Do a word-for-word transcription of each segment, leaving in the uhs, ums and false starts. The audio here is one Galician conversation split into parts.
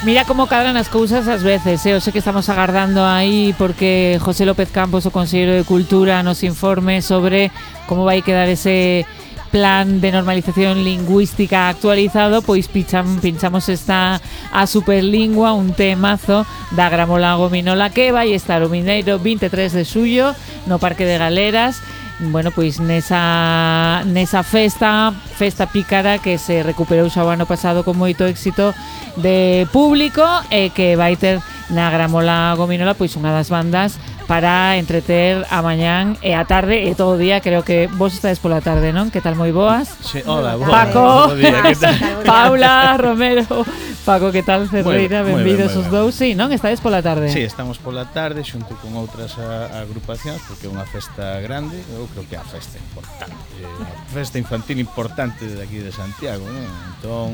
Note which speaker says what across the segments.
Speaker 1: Mira como cadran as cousas ás veces, eh? Eu sei que estamos agardando aí porque José López Campos, o Conselleiro de Cultura, nos informe sobre como vai quedar ese plan de normalización lingüística actualizado, pois picham, pinchamos esta a Superlingua, un temazo da Gramola Gominola que vai estar o mineiro vinte e tres de xullo no Parque de Galeras. Bueno, pois nesa nesa festa, festa pícara que se recuperou xa o ano pasado con moito éxito de público e que vai ter na Gramola Gominola pois unha das bandas para entreter a mañán e a tarde e todo o día. Creo que vos estades pola tarde, non? Que tal, moi boas?
Speaker 2: Sí, hola, boas.
Speaker 1: Paco,
Speaker 2: Día, que tal?
Speaker 1: Paula, Romero, Paco, que tal, Cerreira?
Speaker 2: Moi ben, moi
Speaker 1: Benvidos
Speaker 2: ben,
Speaker 1: os
Speaker 2: moi
Speaker 1: dous, sí, non? Estades pola tarde?
Speaker 2: Sí, estamos pola tarde xunto con outras a, agrupacións porque é unha festa grande, eu creo que é a festa importante, a festa infantil importante de aquí de Santiago, non? Entón,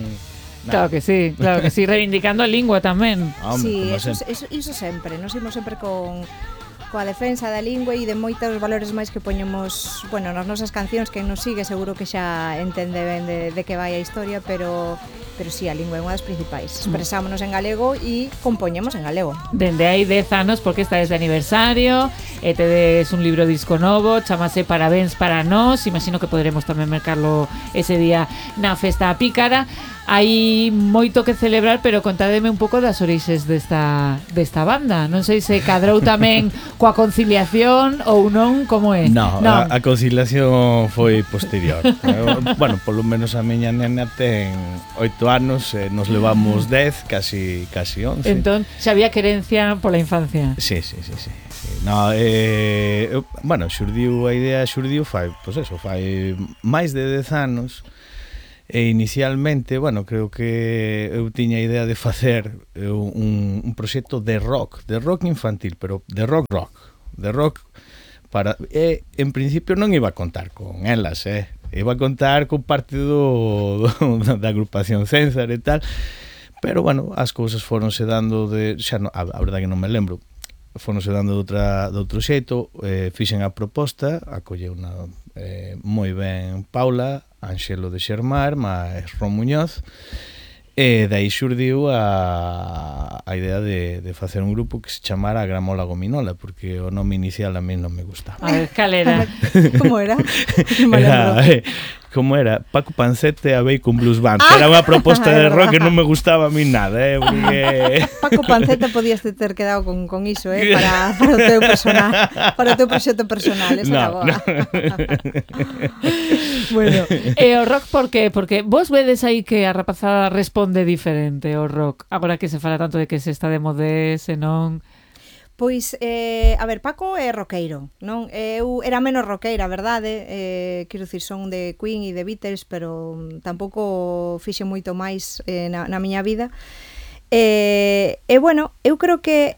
Speaker 1: Claro que sí, claro que sí, reivindicando a lingua tamén.
Speaker 2: Ah, hombre,
Speaker 3: sí,
Speaker 2: como
Speaker 3: eso,
Speaker 2: sempre.
Speaker 3: eso, iso sempre, nos imos sempre con coa defensa da lingua e de moitos valores máis que poñemos, bueno, nas nosas cancións. Quen nos sigue seguro que xa entende ben de, de que vai a historia, pero pero si, sí, a lingua é unha das principais. Expresámonos en galego e compoñemos en galego.
Speaker 1: Dende hai dez anos, porque esta é de aniversario, e tedes un libro disco novo, chamase Parabéns para nós, imagino que poderemos tamén mercarlo ese día na festa pícara. Hai moito que celebrar, pero contádeme un pouco das orixes desta, desta banda. Non sei se cadrou tamén coa conciliación ou non, como é?
Speaker 2: No, no. A, a conciliación foi posterior. Bueno, polo menos a miña nena ten oito anos, e nos levamos dez, casi casi once.
Speaker 1: Entón, xa había querencia pola infancia.
Speaker 2: Sí, sí, sí, sí. No, eh, bueno, xurdiu a idea, xurdiu fai, pois eso, fai máis de dez anos. E inicialmente, bueno, creo que eu tiña a idea de facer un, un proxecto de rock, de rock infantil, pero de rock rock, de rock para e en principio non iba a contar con elas, eh. Iba a contar con parte do, do da agrupación César e tal, pero bueno, as cousas foronse dando de, xa no, a, a verdade que non me lembro, foronse dando de outra de outro xeito, eh, fixen a proposta, acolleu unha eh, moi ben Paula, Anxelo de Xermar, máis Ron Muñoz, e dai xurdiu a, a idea de, de facer un grupo que se chamara Gramola Gominola, porque o nome inicial a mí non me gustaba.
Speaker 1: A ver, cal era?
Speaker 3: Como era?
Speaker 2: Era, eh, como era? Paco Pancete a Bacon Blues Band. Ah, era unha proposta de rock que non me gustaba a mí nada, eh, porque...
Speaker 3: Paco Pancete podías ter quedado con, con iso, eh, para, para o teu personal, para o teu proxecto personal, esa
Speaker 2: no,
Speaker 3: era boa.
Speaker 2: No.
Speaker 1: Bueno, e o rock por qué? Porque vos vedes aí que a rapazada responde diferente ao rock, agora que se fala tanto de que se está de modés e non...
Speaker 3: Pois, eh, a ver, Paco é roqueiro, non? Eu era menos roqueira, verdade? Eh, quero dicir, son de Queen e de Beatles, pero tampouco fixe moito máis eh, na, na miña vida. E, e, bueno, eu creo que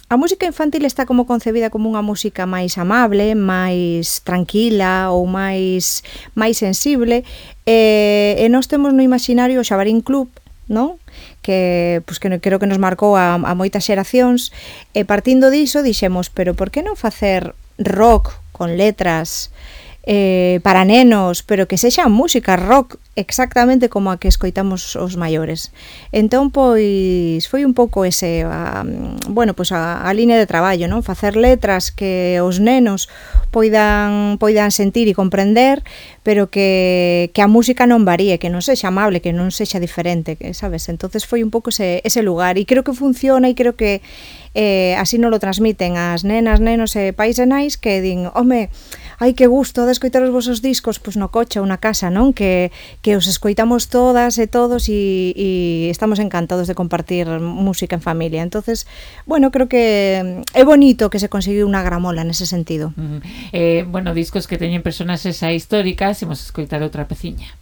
Speaker 3: a música infantil está como concebida como unha música máis amable, máis tranquila ou máis máis sensible, e, e nós temos no imaginario o Xabarín Club, non? Que, pues, que creo que nos marcou a, a moitas xeracións, e partindo diso dixemos, pero por que non facer rock con letras eh, para nenos, pero que sexa música rock exactamente como a que escoitamos os maiores. Entón, pois, foi un pouco ese, a, bueno, pois a, a línea de traballo, non? Facer letras que os nenos poidan poidan sentir e comprender, pero que, que a música non varíe, que non sexa amable, que non sexa diferente, que, sabes? Entonces foi un pouco ese, ese lugar, e creo que funciona, e creo que eh, así non lo transmiten as nenas, nenos e pais e nais, que din, home, ai, que gusto de escoitar os vosos discos, pois no coche ou na casa, non? Que, que os escoitamos todas e todos e, e estamos encantados de compartir música en familia. Entonces, bueno, creo que é bonito que se conseguiu unha gramola nese sentido.
Speaker 1: Mm. Eh, bueno, discos que teñen personaxes históricas, imos escoitar outra peciña.